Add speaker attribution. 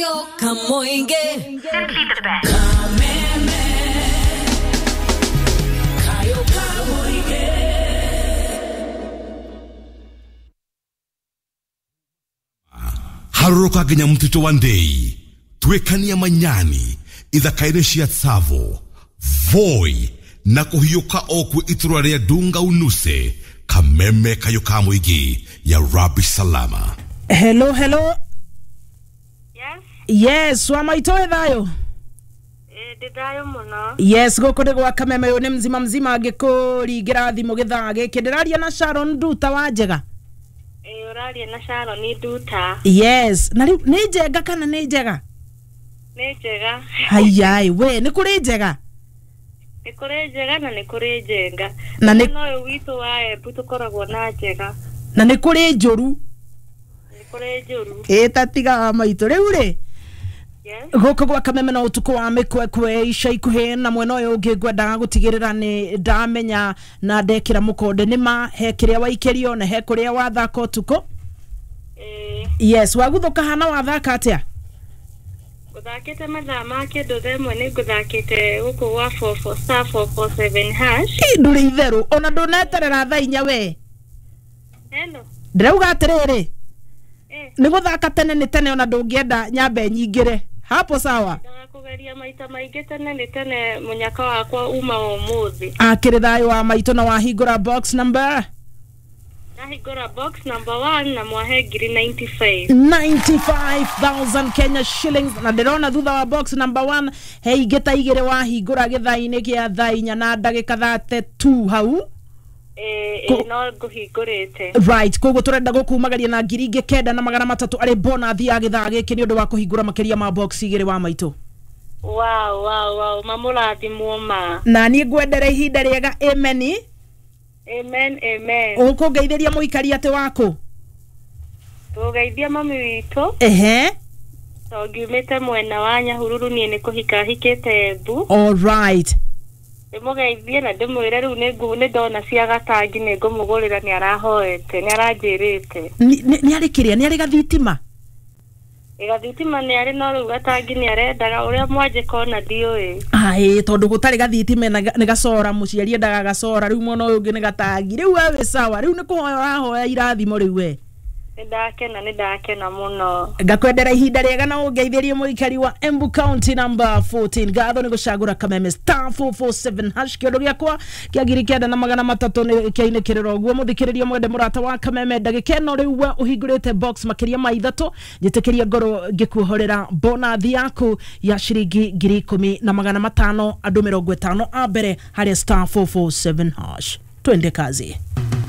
Speaker 1: Kamoinge.
Speaker 2: Simply the best.
Speaker 1: Kameme. Kayo Kamoinge.
Speaker 3: Harũrũka nginya mũtitũ wa Ndei, tuĩkania Manyani, ithaka-inĩ cia Tsavo, Voi na kũhiũka o kwĩ itũra rĩa Dunga Unuse, Kameme kayũ ka mũingĩ ya Rabi Salama.
Speaker 4: Hello, hello.
Speaker 5: Yes.
Speaker 4: Yes, wa maitũ wĩ thayũ?
Speaker 5: Ndĩ thayũ mũno.
Speaker 4: Yes, gũkũ nĩ gwa Kameme, ũyũ nĩ mzima mzima ngĩkũringĩra thimũ gĩthaa gĩkĩ. Ndĩraria na Sharon Nduta wa Njega.
Speaker 5: Ĩĩ, ũraria na Sharon Nduta.
Speaker 4: Yes, na rĩu nĩ njenga kana nĩ njega?
Speaker 5: Nĩ njega.
Speaker 4: Haiyai, we nĩ kũrĩ njega?
Speaker 5: Nĩ kũrĩ njega na nĩ kũrĩ njenga.
Speaker 4: Na nĩ
Speaker 5: No ũyũ witũ wa Embu tũkoragwo na njega.
Speaker 4: Na nĩ kũrĩ njũru.
Speaker 5: Nĩ kũrĩ njũru.
Speaker 4: Ĩ ta tiga wa maitũ rĩu rĩ.
Speaker 5: Yes.
Speaker 4: Gũkũ gwa Kameme na ũtukũ wa mĩkwekwe ica ikuhĩ, na mwena ũyũ ũngĩ ngwendaga gũtigĩrĩra nĩ ndamenya na ndekĩra mũkonde nĩ ma he kĩrĩa waikĩrio na he kũrĩa wathaka ũtukũ.
Speaker 5: Ĩĩ.
Speaker 4: Yes, waguthũka hana wathaka atĩa?
Speaker 5: Ngũthakĩte mathaa ma kĩndũ thaa ĩmwe nĩ ngũthakĩte gũkũ gwa 44 star 447 hash.
Speaker 4: Ĩ, ndũrĩ itherũ ona ndũneterera thaa inya we.
Speaker 5: Hello.
Speaker 4: Ndĩrauga atĩrĩrĩ,
Speaker 5: Eh.
Speaker 4: nĩ gũthaka tene nĩ tene ona ndũngĩenda nyambe nyingĩre hapo sawa.
Speaker 5: Kũgeria maita maingĩ tene nĩ tene mũnyaka wakwa uma ũmũthĩ.
Speaker 4: Akĩrĩ thayũ wa maitũ na wahingũra box number?
Speaker 5: Ndahingũra box number 1 na mwahe ngiri 95.
Speaker 4: 95,000 Kenya shillings, na ndĩrona thutha wa box number 1 he ingĩ ta igĩrĩ wahingũra gĩthaa-inĩ gĩa thaa inya na ndagĩka 32 hau.
Speaker 5: Ĩĩ, no ngũhingũrĩte.
Speaker 4: Right, koguo tũrenda gũkumagaria na ngiri ingĩ 9,300 arĩ bonathi ya gĩthaa gĩkĩ nĩ ũndũ wa kũhingũra makĩria ma box igĩrĩ wa maitũ.
Speaker 5: Wow, wow, wow, mamũrathimwo ma.
Speaker 4: Na niĩ ngwendere ihinda rĩega, ameni.
Speaker 5: Amen, amen.
Speaker 4: Ũkũngeithĩria mũikari atĩ waku?
Speaker 5: Tũgeithia mami witũ.
Speaker 4: Ehe.
Speaker 5: Tondũ ngiumĩte mwena wa Nyahururu niĩ nĩ kũhika hikĩte Embu.
Speaker 4: All right.
Speaker 5: Ndĩmũgeithie na ndĩmwĩre rĩu nĩ ndona cia gatangi nĩ ngũmũgũrĩra, nĩ arahoete, nĩ aranjĩrĩte.
Speaker 4: Nĩ arĩ kĩrĩa, nĩ arĩ gathitima?
Speaker 5: Gathitima nĩ arĩ, no rĩu gatangi nĩ arendaga ũrĩa mwanjĩka ona ndiũĩ.
Speaker 4: Aĩ, tondũ gũtarĩ gathitima nĩ gacora, mũciari endaga gacora, rĩu mwena ũyũ ũngĩ nĩ gatangi. Rĩu we wĩ sawa, rĩu nĩ kũhoya ũrahoya irathimo rĩu we.
Speaker 5: Nĩ ndakena, nĩ ndakena mũno.
Speaker 4: Ngakwendera ihinda rĩega na ũngeithĩrie mũikari wa Embu County number 14. Ngatho nĩ gũcagũra Kameme star 447 hash. Kĩondo gĩakwa kĩa 9,300 nĩ kĩainĩkĩrĩra ũguo. Mũthikĩrĩria mwende mũrata wa Kameme, ndagĩka ĩno rĩu we ũhingũrĩte box makĩria ma ithatũ, njĩtĩkĩria ngorwo ngĩkuohorera bonathi yaku ya ciringi 10,500 andũ 50 a mbere harĩa star 447 hash. Twende kazi.